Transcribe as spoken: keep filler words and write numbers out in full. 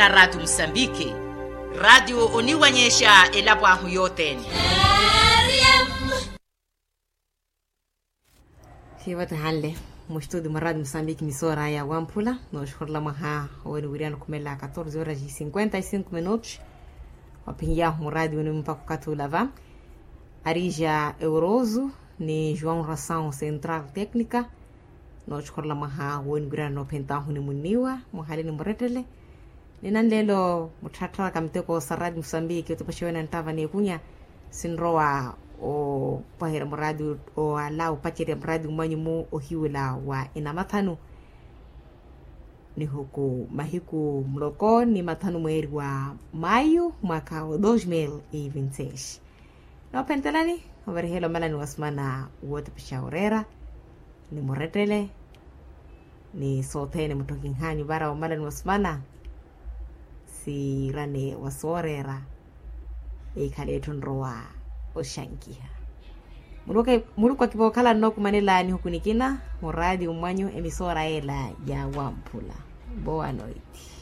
Ratu musambiki. Ratu oniwanyexa elapo ahu yotene. Khiivatehanle mustuti mwa ratu musambiki misora ya wamphula noxukhurula mwaha. Oweni wiriya nukhumela katorze horas e cinquenta e cinco minutos. Waphinyahu muratu wenu mpaka okathi ulava arija eurozu ni juan rasaun central tecnica. Nooxukhurula mwaha wooniwirana noophentahu ni munniwa muhali ni murettele. Ni nanleelo muttharattharaka miteko sa ratu musambiki otupaxewene nttava n'ekunya. Sinrowa opaherya muratu owala opacerya muratu mwanyu mu ohiwula wa enamathanu nihuku mahiku muloko ni mathanu mweeri wa mayu mwaka wa dos mil e vinti seis. Noophentelani ovarihela omalani wa sumana wootepexaha oreera ni murettele ni sothene mutthokinhanyu vara omalani wa sumana. Siirane wa sooreera ekhale etthu nrowa oxankiha. Muluku akivookhala nnookumanela nihuku nikina muraati mwanyu emisoora yeela ya wamphula. Boa noiti.